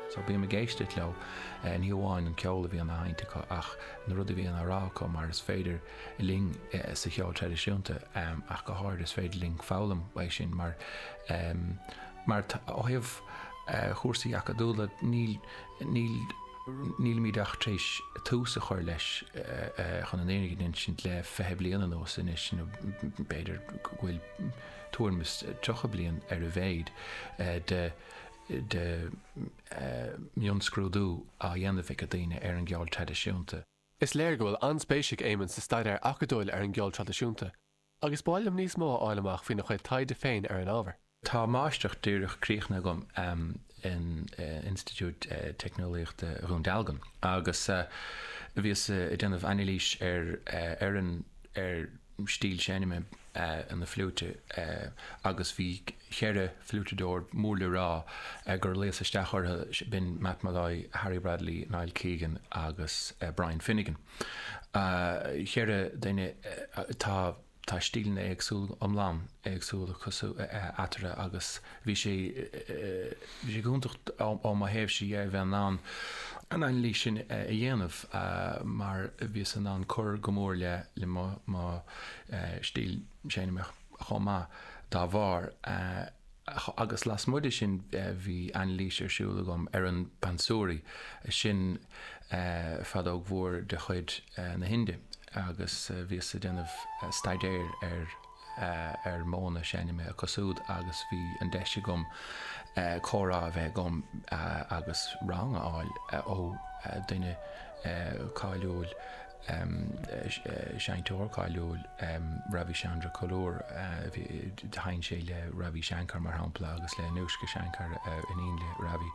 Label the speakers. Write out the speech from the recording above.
Speaker 1: So bím ag éisteacht leo, ní hamháin an ceol a bhíonn á sheinnt acu ach na rudaí a bhíonn á rá acu mar is féidir linn sa cheol traidisiúnta ach go háirid is féidir linn foghlaim uaidh sin mar mar ó thaobh chúrsaí acadúla níl níl nílimid ach tar éis tús a chur leis chun an fhírinne a insint le 20 bliain anuas anois nó b'fhéidir go bhfuil tuairim is 30 bliain ar a mhéad de de mhionscrúdú á dhéanamh ag daoine ar an gceol traidisiúnta.
Speaker 2: Is léir go bhfuil an-spéis ag Éamonn sa staidéar acadúil ar an gceol traidisiúnta, agus ba mhaith liom níos mó a fháil amach faoina chuid taighde féin ar an ábhar.
Speaker 1: Tá máistreacht díreach críochnaithe agam in Institiúid Teicneolaíochta Dhún Dealgan agus bhíos ag déanamh anailís ar ar an ar stíl seinme na fliúite agus bhí cheithre fliúiteadóir mór le rá gur luíos isteach orthu, b'in Matt Molloy, Harry Bradley, Niall Keegan agus Brian Finnegan. Cheithre duine, tá tá stíleanna éagsúla, iomlán éagsúil acu eatarthu agus bhí sé bhí sé go hiontach ó mo thaobhse dhe a bheith in ann an anailís sin a dhéanamh mar bhíos in ann cur go mór le le mo mo stíl seinme chomh maith dá bharr. Agus lasmuigh de sin bhí anailís ar siúl agam ar an bansuri, sin feadóg mhór de chuid na hInde agus bhíos ag déanamh staidéir ar ar mhodhanna seinme acu siúd agus bhí an deis agam comhrá a bheith agam agus rang a fháil ó duine cáiliúil, seinnteoir cáiliúil, Ravi Chandra Collur. Sheinn sé le Ravi Shankar, mar shampla, agus le Anoushka Shankar, iníon le Ravi.